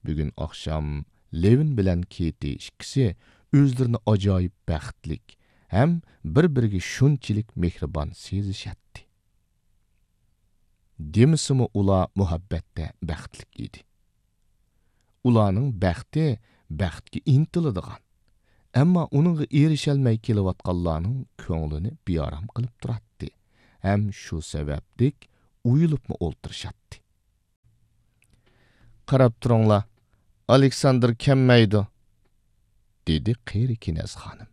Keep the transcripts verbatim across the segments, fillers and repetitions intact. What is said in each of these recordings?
بۈگۈن ئاخشام لېۋىن بىلەن كېتى ئىككىسى ئۆزلىرىنى ئاجايىپ بەختلىك ھەم بىر-بىرىگە شۇنچىلىك مېھرىبان سېزىشەتتى. دېمىسىمۇ، ئۇلار مۇھەببەتتە بەختلىك ئىدى. ئۇلارنىڭ بەختى بەختكە ئىنتىلىدىغان، ئەمما ئۇنىڭغا ئېرىشەلمەي كېلىۋاتقانلارنىڭ كۆڭلىنى بىئارام قىلىپ تۇراتتى ھەم شۇ سەۋەبلىك ئويۇلۇپمۇ ئولتۇرۇشاتتى. «قاراپ تۇرۇڭلار، ئالېكساندىر كەلمەيدۇ»، دېدى قېرى كېنەز خانىم.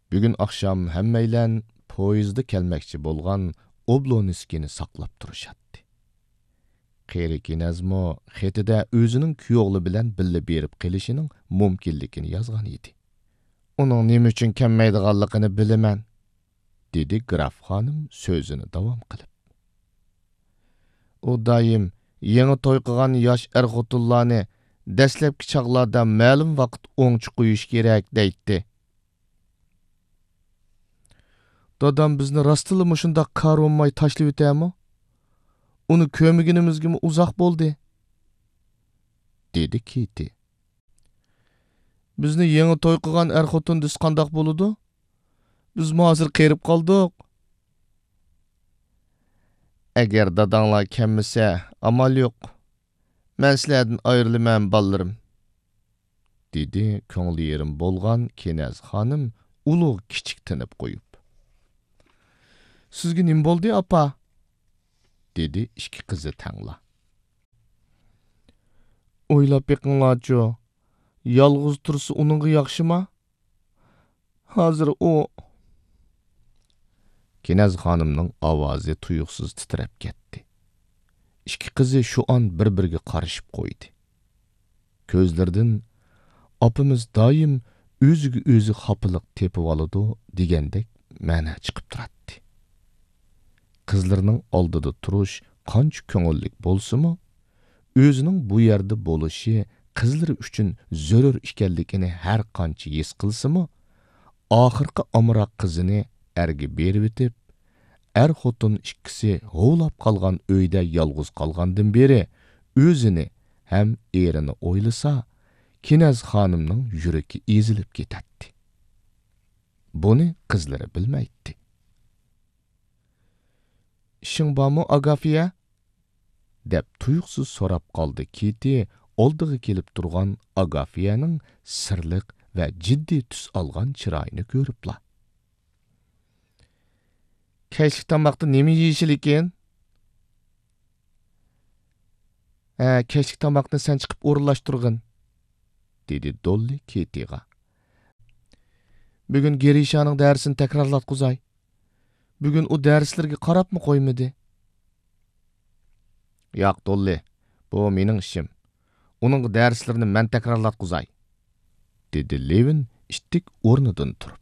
بۈگۈن ئاخشام ھەممەيلەن پويىزدا كەلمەكچى بولغان ئوبلونسكىينى ساقلاپ تۇرۇشاتتى. قېرى كېنەزمۇ خېتىدە ئۆزىنىڭ كۈيئوغلى بىلەن بىللە بېرىپ قېلىشىنىڭ مۇمكىنلىكىنى يازغان ئىدى. «ئۇنىڭ نېمە ئۈچۈن كەلمەيدىغانلىقىنى بىلىمەن»، دېدى گراف خانىم سۆزىنى داۋام قىلىپ. «ئۇ دائىم يېڭى توي قىلغان ياش ئەر-خوتۇنلارنى دەسلەپكى چاغلاردا مەلۇم ۋاقىت ئوڭچە قويۇش كېرەك دەيتتى.» «دادام بىزنى راستتىنلا مۇشۇنداق كارۋنماي تاشلىۋېتەرمۇ؟ ئۇنى كۆرمىگىنىمىزگىمۇ ئۇزاق بولدى»، دېدى كېتى. «بىزنى يېڭى توي قىلغان ئەر-خوتۇن دېسە قانداق بولىدۇ؟ بىزمۇ ھازىر قېرىپ قالدۇق.» «ئەگەر داداڭلار كەلمىسە، ئامال يوق. مەن سىلەردىن ئايرىلىمەن، بالىلىرىم»، دېدى كۆڭلى يېرىم بولغان كېنەز خانىم ئۇلۇغ كىچىك تىنىپ قويۇپ. «سىزگە نېمە بولدى، ئاپا؟» دېدى ئىككى قىزى تەڭلا. «ئويلاپ بېقىڭلارچۇ، يالغۇز تۇرسا ئۇنىڭغا ياخشىما؟ ھازىر ئۇ...» كېنەز خانىمنىڭ ئاۋازى تۇيۇقسىز تىترەپ كەتتى. ئىككى قىزى شۇ ئان بىر-بىرىگە قارىشىپ قويدى. كۆزلىرىدىن «ئاپىمىز دائىم ئۆزىگە ئۆزى خاپىلىق تېپىۋالىدۇ» دېگەندەك مەنە چىقىپ تۇراتتى. قىزلىرىنىڭ ئالدىدا تۇرۇش قانچە كۆڭۈللۈك بولسىمۇ، ئۆزىنىڭ بۇ يەردە بولۇشى قىزلىرى ئۈچۈن زۆرۈر ئىكەنلىكىنى ھەر قانچە ھېس قىلسىمۇ، ئاخىرقى ئامراق قىزىنى ئەرگە بېرىۋېتىپ، ئەر-خوتۇن ئىككىسى ھۇۋلاپ قالغان ئۆيدە يالغۇز قالغاندىن بېرى ئۆزىنى ھەم ئېرىنى ئويلىسا، كېنەز خانىمنىڭ يۈرىكى ئېزىلىپ كېتەتتى. بۇنى قىزلىرى بىلمەيتتى. «ئىشىڭ بارمۇ، ئاگافىيە؟» دەپ تۇيۇقسىز سوراپ قالدى كېتى ئالدىغا كېلىپ تۇرغان ئاگافىيەنىڭ سىرلىق ۋە جىددىي تۈس ئالغان چىرايىنى كۆرۈپلا. «كەچلىك تاماقتا نېمە يېيىشى لېكىن؟» «ھە، كەچلىك تاماقنى سەن چىقىپ ئورۇنلاشتۇرغىن»، دېدى دوللى كېتىغا. «بۈگۈن گىرىشانىڭ دەرسىنى تەكرارلاتقۇزاي. بۈگۈن ئۇ دەرسلىرىگە قاراپمۇ قويمىدى.» «ياق، دوللى، بۇ مېنىڭ ئىشىم. ئۇنىڭغا دەرسلىرىنى مەن تەكرارلاتقۇزاي»، دېدى لېۋىن ئىتتىك ئورنىدىن تۇرۇپ.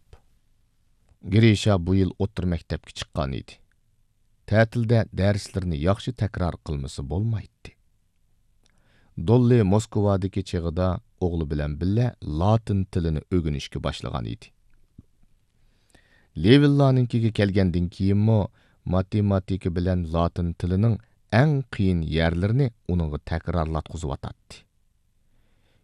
گرىشا بۇ يىل ئوتتۇرا مەكتەپكە چىققان ئىدى. تەتىلدە دەرسلىرىنى ياخشى تەكرار قىلمىسا بولمايتتى. دوللى موسكۋادىكى چېغىدا ئوغلى بىلەن بىللە لاتىن تىلىنى ئۆگىنىشكە باشلىغان ئىدى. لېۋىنلارنىڭكىگە كەلگەندىن كېيىنمۇ ماتېماتىكا بىلەن لاتىن تىلىنىڭ ئەڭ قىيىن يەرلىرىنى ئۇنىڭغا تەكرارلاتقۇزۇۋاتاتتى.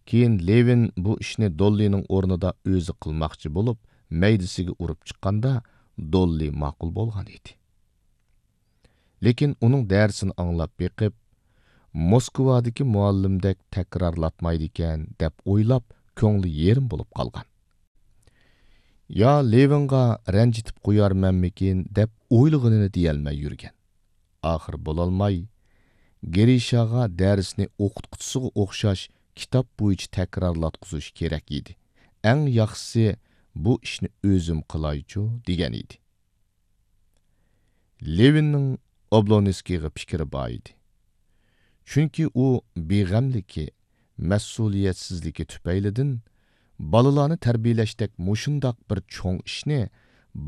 كېيىن لېۋىن بۇ ئىشنى دوللىنىڭ ئورنىدا ئۆزى قىلماقچى بولۇپ، مەيدىسىگە ئۇرۇپ چىققاندا، دوللى ماقۇل بولغان ئىدى. لېكىن ئۇنىڭ دەرسىنى ئاڭلاپ بېقىپ، موسكۋادىكى مۇئەللىمدەك تەكرارلاتمايدىكەن دەپ ئويلاپ، كۆڭلى يېرىم بولۇپ قالغان. يا لېۋىنغا رەنجىتىپ قويارمەنمىكىن دەپ ئويلىغىنىنى دېيەلمەي يۈرگەن. ئاخىر بولالماي، گرىشاغا دەرسنى ئوقۇتقۇچىسىغا ئوخشاش كىتاب بويىچە تەكرارلاتقۇزۇش كېرەك ئىدى. ئەڭ ياخشىسى، بۇ ئىشنى ئۆزۈم قىلايچۇ، دېگەن ئىدى. لېۋىننىڭ ئوبلونسكىيغا پىكرى بار ئىدى. چۈنكى ئۇ بىغەملىكى، مەسئۇلىيەتسىزلىكى تۈپەيلىدىن بالىلارنى تەربىيەلەشتەك مۇشۇنداق بىر چوڭ ئىشنى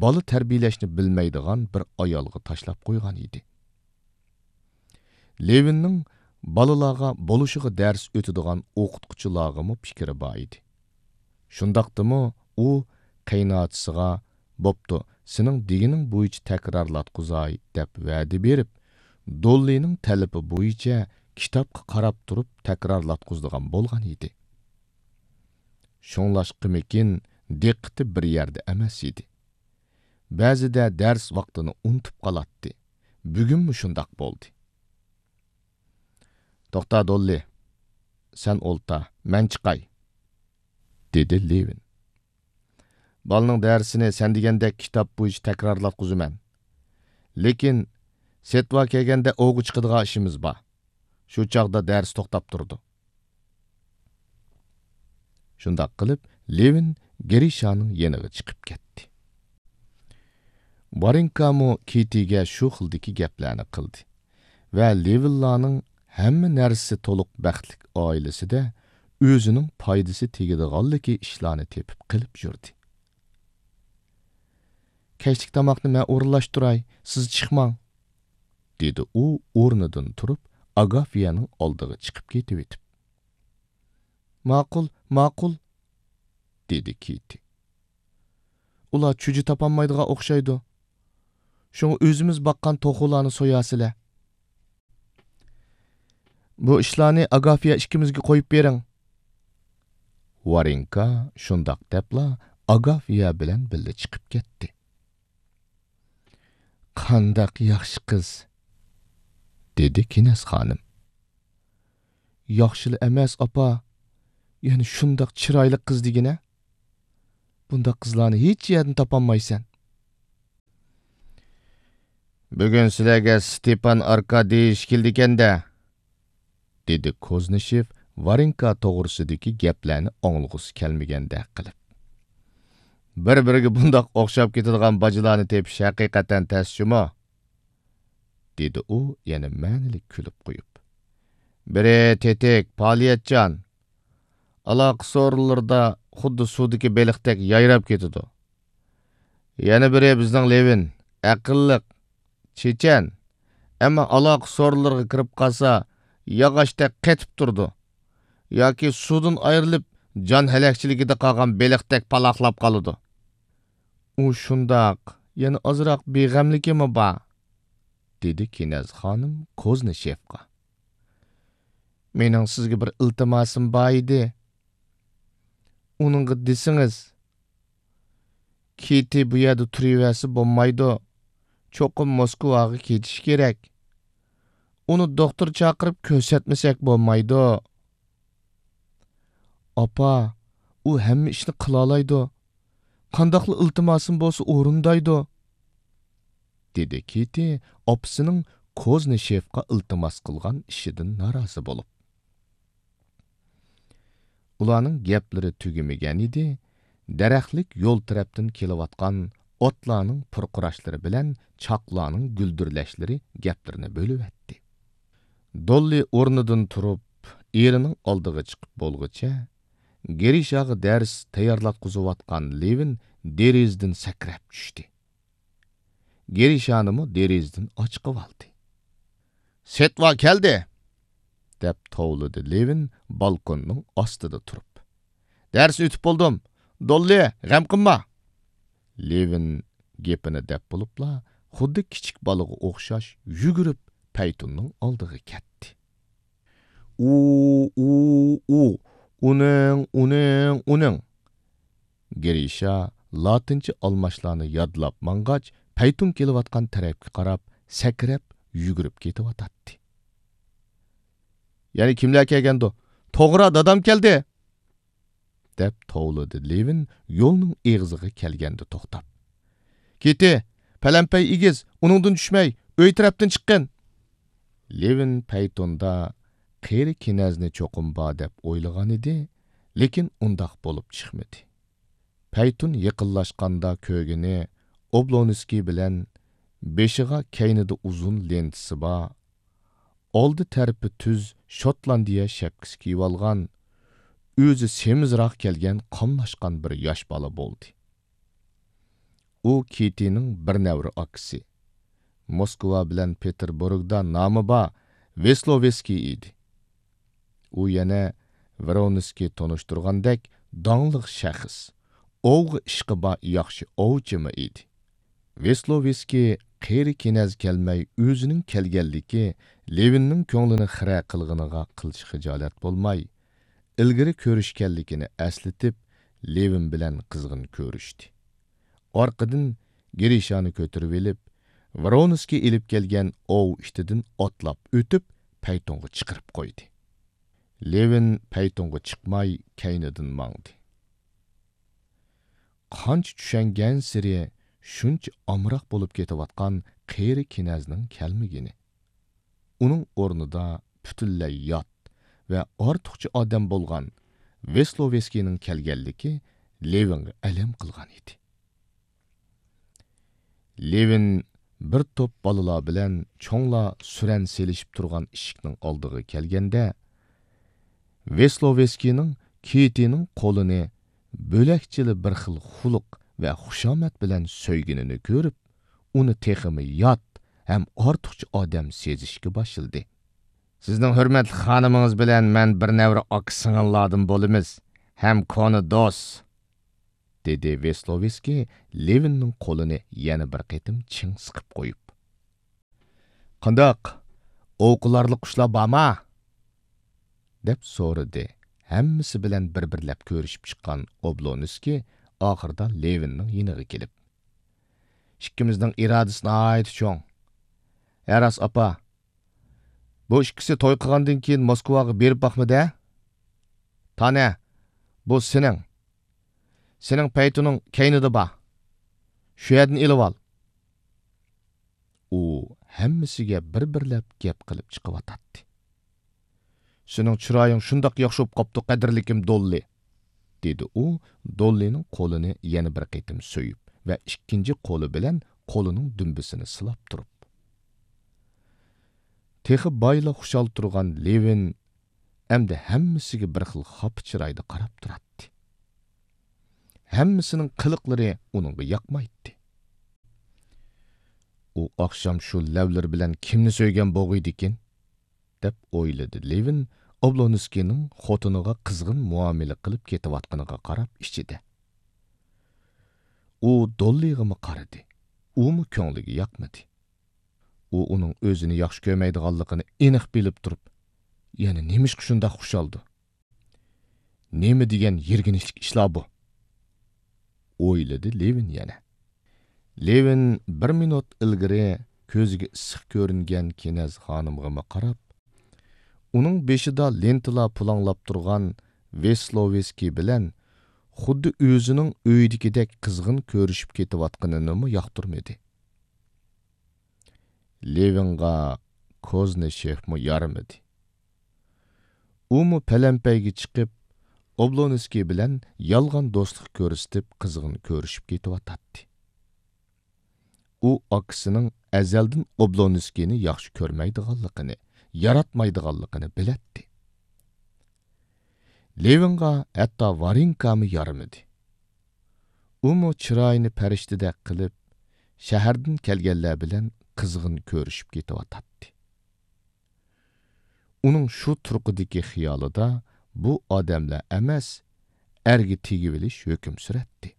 بالا تەربىيەلەشنى بىلمەيدىغان بىر ئايالغا تاشلاپ قويغان ئىدى. لېۋىننىڭ بالىلارغا بولۇشىغا دەرس ئۆتىدىغان ئوقۇتقۇچىلارغىمۇ پىكرى بار ئىدى. شۇنداقتىمۇ ئۇ قېيىنئاچىسىغا، «بوپتۇ، سېنىڭ دېگىنىڭ بويىچە تەكرارلاتقۇزاي» دەپ ۋەدە بېرىپ، دوللىنىڭ تەلىپى بويىچە كىتابقا قاراپ تۇرۇپ تەكرارلاتقۇزىدىغان بولغان ئىدى. شۇڭلاشقىمىكىن، دىققىتى بىر يەردە ئەمەس ئىدى. بەزىدە دەرس ۋاقتىنى ئۇنتۇپ قالاتتى. بۈگۈنمۇ شۇنداق بولدى. «توختا، دوللى، سەن ئولتۇر، مەن چىقاي»، دېدى لېۋىن. «بالىنىڭ دەرسىنى سەن دېگەندەك كىتاب بويىچە تەكرارلاتقۇزىمەن. لېكىن سېتۋا كەلگەندە ئوۋغا چىقىدىغان ئىشىمىز بار. شۇ چاغدا دەرس توختاپ تۇرىدۇ.» شۇنداق قىلىپ، لېۋىن گىرىشانىڭ يېنىغا چىقىپ كەتتى. ۋارېنكامۇ كىتىگە شۇ خىلدىكى گەپلەرنى قىلدى ۋە لېۋىنلارنىڭ ھەممە نەرسىسى تولۇق بەختلىك ئائىلىسىدە ئۆزىنىڭ پايدىسى تېگىدىغانلىكى ئىشلارنى تېپىپ قىلىپ يۈردى. «كەچلىك تاماقنى مەن ئورۇنلاشتۇراي، سىز چىقماڭ»، دېدى ئۇ ئورنىدىن تۇرۇپ، ئاگافىيەنىڭ ئالدىغا چىقىپ كېتىۋېتىپ. «ماقۇل، ماقۇل»، دېدى كىتى. «ئۇلار چۈجە تاپالمايدىغان ئوخشايدۇ. شۇڭا ئۆزىمىز باققان توخۇلارنى سويارسىلەر. بۇ ئىشلارنى ئاگافىيە ئىككىمىزگە قويۇپ بېرىڭ.» ۋارېنكا شۇنداق دەپلا ئاگافىيە بىلەن بىللە چىقىپ كەتتى. «قانداق ياخشى قىز!» دېدى كىنەز خانىم. «ياخشىلا ئەمەس، ئاپا. يەنە شۇنداق چىرايلىق قىز دېگىنە. بۇنداق قىزلارنى ھېچ يەردىن تاپالمايسەن.» «بۈگۈن سىلەرگە ستېپان ئاركاديېۋىچ كېلىدىكەن-دە»، دېدى كوزنىشېف ۋارېنكا توغرىسىدىكى گەپلەرنى ئاڭلىغۇسى كەلمىگەندەك قىلىپ. «بىر-بىرىگە بۇنداق ئوخشاپ كېتىدىغان باجىلارنى تېپىش ھەقىقەتەن تەس جۇمۇ»، دېدى ئۇ يەنە مەنىلىك كۈلۈپ قويۇپ. «بىرى تېتىك، پائالىيەتچان، ئالاقە سورۇنلىرىدا خۇددى سۇدىكى بېلىقتەك يايراپ كېتىدۇ. يەنە بىرى بىزنىڭ لېۋىن، ئەقىللىق، چېچەن، ئەمما ئالاقە سورۇنلىرىغا كىرىپ قالسا، ياغاچتەك قېتىپ تۇرىدۇ. ياكى سۇدىن ئايرىلىپ، جان ھەلەكچىلىكىدە قالغان بېلىقتەك پالاقلاپ قالىدۇ.» «ئۇ شۇنداق، يەنە ئازراق بىغەملىكىمۇ بار»، دېدى كىنەز خانىم كوزنىشېفقا. «مېنىڭ سىزگە بىر ئىلتىماسىم بار ئىدى. ئۇنىڭغا دېسىڭىز، كىتى بۇ يەردە تۇرۇۋەرسە بولمايدۇ. چوقۇم موسكۋاغا كېتىشى كېرەك. ئۇنى دوختۇر چاقىرىپ كۆرسەتمىسەك بولمايدۇ.» «ئاپا، ئۇ ھەممە ئىشنى قىلالايدۇ. قانداقلا ئىلتىماسىم بولسا ئورۇندايدۇ»، دېدى كىتى ئاپىسىنىڭ كوزنىشېفقا ئىلتىماس قىلغان ئىشىدىن نارازى بولۇپ. ئۇلارنىڭ گەپلىرى تۈگىمىگەنىدى، دەرەخلىك يول تەرەپتىن كېلىۋاتقان ئاتلارنىڭ پۇرقۇراشلىرى بىلەن چاقلارنىڭ گۈلدۈرلەشلىرى گەپلىرىنى بۆلۈۋەتتى. دوللى ئورنىدىن تۇرۇپ، ئېرىنىڭ ئالدىغا چىقىپ بولغۇچە، گىرىشاغا دەرس تەييارلاتقۇزۇۋاتقان لېۋىن دېرىزىدىن سەكرەپ چۈشتى. گىرىشانىمۇ دېرىزىدىن ئاچىقىۋالدى. «سېتۋا كەلدى!» دەپ توۋلىدى لېۋىن بالكوننىڭ ئاستىدا تۇرۇپ. «دەرسنى ئۆتۈپ بولدۇم. دوللى، غەم قىلما!» لېۋىن گېپىنى دەپ بولۇپلا، خۇددى كىچىك بالىغا ئوخشاش يۈگۈرۈپ پەيتۇننىڭ ئالدىغا كەتتى. «ئۇ، ئۇ، ئۇ، ئۇنىڭ، ئۇنىڭ، ئۇنىڭ!» گىرىشا لاتىنچە ئالماشلارنى يادلاپ ماڭغاچ، پەيتۇن كېلىۋاتقان تەرەپكە قاراپ سەكرەپ يۈگۈرۈپ كېتىۋاتاتتى. «يەنە كىملەر كەلگەندۇ؟ توغرا، دادام كەلدى!» دەپ توۋلىدى لېۋىن يولنىڭ ئېغىزىغا كەلگەندە توختاپ. «كىتى، پەلەمپەي ئېگىز، ئۇنىڭدىن چۈشمەي، ئۆي تەرەپتىن چىققىن!» لېۋىن پەيتۇندا قېرى كىنەزنى چوقۇم بار دەپ ئويلىغانىدى، لېكىن ئۇنداق بولۇپ چىقمىدى. پەيتۇن يېقىنلاشقاندا كۆرگىنى ئوبلونسكىي بىلەن بېشىغا كەينىدە ئۇزۇن لېنتىسى بار، ئالدى تەرىپى تۈز شوتلاندىيە شەپكىسى كىيىۋالغان، ئۆزى سېمىزراق كەلگەن قاملاشقان بىر ياش بالا بولدى. ئۇ كىتىنىڭ بىر نەۋرە ئاكىسى، موسكۋا بىلەن پېتېربۇرگدا نامى بار ۋېسلوۋېسكىي ئىدى. ئۇ يەنە ۋرونسكىي تونۇشتۇرغاندەك داڭلىق شەخس، ئوۋغا ئىشقى بار ياخشى ئوۋچىمۇ ئىدى. ۋېسلوۋېسكىي قېرى كېنەز كەلمەي ئۆزىنىڭ كەلگەنلىكى لېۋىننىڭ كۆڭلىنى خىرە قىلغىنىغا قىلچە خىجالەت بولماي، ئىلگىرى كۆرۈشكەنلىكىنى ئەسلىتىپ، لېۋىن بىلەن قىزغىن كۆرۈشتى. ئارقىدىن گىرىشانى كۆتۈرۈۋېلىپ، ۋرونسكىي ئېلىپ كەلگەن ئوۋ ئىتىدىن ئاتلاپ ئۆتۈپ، پەيتۇنغا چىقىرىپ قويدى. لېۋىن پەيتۇنغا چىقماي، كەينىدىن ماڭدى. قانچە چۈشەنگەنسېرى شۇنچە ئامراق بولۇپ كېتىۋاتقان قېرى كېنەزنىڭ كەلمىگىنى، ئۇنىڭ ئورنىدا پۈتۈنلەي يات ۋە ئارتۇقچە ئادەم بولغان ۋېسلوۋېسكىينىڭ كەلگەنلىكى لېۋىنغا ئەلەم قىلغان ئىدى. لېۋىن بىر توپ بالىلار بىلەن چوڭلار سۈرەن سېلىشىپ تۇرغان ئىشىكنىڭ ئالدىغا كەلگەندە، ۋېسلوۋېسكىينىڭ كىتىنىڭ قولىنى بۆلەكچىلا بىر خىل خۇلق ۋە خۇشامەت بىلەن سۆيگىنىنى كۆرۈپ، ئۇنى تېخىمۇ يات ھەم ئارتۇقچە ئادەم سېزىشكە باشلىدى. «سىزنىڭ ھۆرمەتلىك خانىمىڭىز بىلەن مەن بىر نەۋرە ئاكا-سىڭىللاردىن بولىمىز ھەم كونا دوست»، دېدى ۋېسلوۋېسكىي لېۋىننىڭ قولىنى يەنە بىر قېتىم چىڭ سىقىپ قويۇپ. «قانداق، ئوۋ قىلارلىق قۇشلار بارما؟» دەپ سورىدى ھەممىسى بىلەن بىر-بىرلەپ كۆرۈشۈپ چىققان ئوبلونسكىي ئاخىرىدا لېۋىننىڭ يېنىغا كېلىپ. «ئىككىمىزنىڭ ئىرادىسى ناھايىتى چوڭ. ھە راست، ئاپا. بۇ ئىككىسى توي قىلغاندىن كېيىن موسكۋاغا بېرىپ باقمىدى ھە؟ تانە، بۇ سېنىڭ. سېنىڭ پەيتۇنۇڭ كەينىدە بار. شۇ يەردىن ئېلىۋال.» ئۇ ھەممىسىگە بىر-بىرلەپ گەپ قىلىپ چىقىۋاتاتتى. «سېنىڭ چىرايىڭ شۇنداق ياخشى بولۇپ قاپتۇ، قەدىرلىكىم دوللى»، دېدى ئۇ دوللىنىڭ قولىنى يەنە بىر قېتىم سۆيۈپ ۋە ئىككىنچى قولى بىلەن قولىنىڭ دۈمبىسىنى سىلاپ تۇرۇپ. تېخى بايلا خۇشال تۇرغان لېۋىن ئەمدى ھەممىسىگە بىر خىل خاپا چىرايدا قاراپ تۇراتتى. ھەممىسىنىڭ قىلىقلىرى ئۇنىڭغا ياقمايتتى. «ئۇ ئاخشام شۇ لەۋلىرى بىلەن كىمنى سۆيگەن بولغىيدىكىن؟» دەپ ئويلىدى لېۋىن ئوبلونسكىينىڭ خوتۇنىغا قىزغىن مۇئامىلە قىلىپ كېتىۋاتقىنىغا قاراپ ئىچىدە. ئۇ دوللىغىمۇ قارىدى، ئۇمۇ كۆڭلىگە ياقمىدى. ئۇ ئۇنىڭ ئۆزىنى ياخشى كۆرمەيدىغانلىقىنى ئېنىق بىلىپ تۇرۇپ، يەنە نېمىشقا شۇنداق خۇشالدۇ؟ نېمە دېگەن يىرگىنچلىك ئىشلار بۇ؟ ئويلىدى لېۋىن يەنە. لېۋىن بىر مىنۇت ئىلگىرى كۆزىگە ئىسسىق كۆرۈنگەن كېنەز خانىمغىمۇ قاراپ، ئۇنىڭ بېشىدا لېنتىلار پۇلاڭلاپ تۇرغان ۋېسلوۋېسكىي بىلەن خۇددى ئۆزىنىڭ ئۆيىدىكىدەك قىزغىن كۆرۈشۈپ كېتىۋاتقىنىنىمۇ ياقتۇرمىدى. لېۋىنغا كوزنىشېفمۇ يارىمىدى. ئۇمۇ پەلەمپەيگە چىقىپ، ئوبلونسكىي بىلەن يالغان دوستلۇق كۆرسىتىپ، قىزغىن كۆرۈشۈپ كېتىۋاتاتتى. ئۇ ئاكىسىنىڭ ئەزەلدىن ئوبلونسكىينى ياخشى كۆرمەيدىغانلىقىنى، ياراتمايدىغانلىقىنى بىلەتتى. لېۋىنغا ھەتتا ۋارېنكامۇ يارىمىدى. ئۇمۇ چىرايىنى پەرىشتىدەك قىلىپ، شەھەردىن كەلگەنلەر بىلەن قىزغىن كۆرۈشۈپ كېتىۋاتاتتى. ئۇنىڭ شۇ تۇرقىدىكى خىيالىدا بۇ ئادەملەر ئەمەس، ئەرگە تېگىۋېلىش ھۆكۈم سۈرەتتى.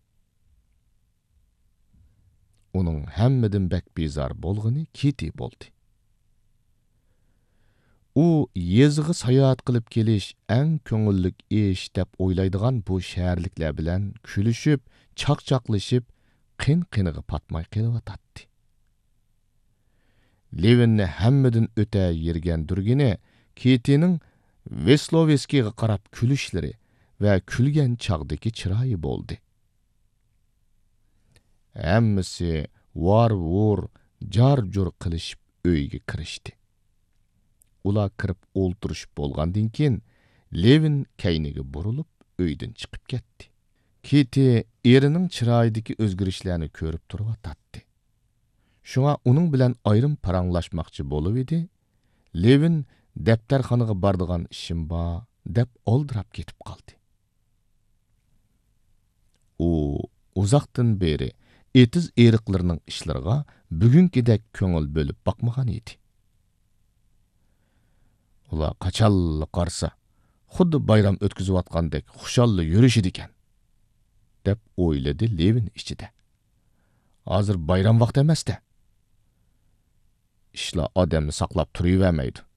ئۇنىڭ ھەممىدىن بەك بىزار بولغىنى كىتى بولدى. ئۇ يېزىغا ساياھەت قىلىپ كېلىش ئەڭ كۆڭۈللۈك ئىش دەپ ئويلايدىغان بۇ شەھەرلىكلەر بىلەن كۈلۈشۈپ، چاقچاقلىشىپ، قىن-قىنىغا پاتماي قېلىۋاتاتتى. لېۋىننى ھەممىدىن ئۆتە يىرگەندۈرگىنى كىتىنىڭ ۋېسلوۋېسكىيغا قاراپ كۈلۈشلىرى ۋە كۈلگەن چاغدىكى چىرايى بولدى. ھەممىسى ۋار-ۋۇر، جار-جۇر قىلىشىپ ئۆيگە كىرىشتى. ئۇلار كىرىپ ئولتۇرۇشۇپ بولغاندىن كېيىن، لېۋىن كەينىگە بۇرۇلۇپ ئۆيدىن چىقىپ كەتتى. كىتى ئېرىنىڭ چىرايىدىكى ئۆزگىرىشلەرنى كۆرۈپ تۇرۇۋاتاتتى. شۇڭا ئۇنىڭ بىلەن ئايرىم پاراڭلاشماقچى بولۇۋىدى، لېۋىن دەپتەرخانىغا بارىدىغان ئىشىم بار دەپ ئالدىراپ كېتىپ قالدى. ئۇ ئۇزاقتىن بېرى ئېتىز-ئېرىقلىرىنىڭ ئىشلىرىغا بۈگۈنكىدەك كۆڭۈل بۆلۈپ باقمىغان ئىدى. ئۇلار قاچانلا قارىسا، خۇددى بايرام ئۆتكۈزۈۋاتقاندەك خۇشاللا يۈرۈشىدىكەن، دەپ ئويلىدى لېۋىن ئىچىدە. ھازىر بايرام ۋاقتى ئەمەستە. ئىشلار ئادەمنى ساقلاپ تۇرۇۋەرمەيدۇ.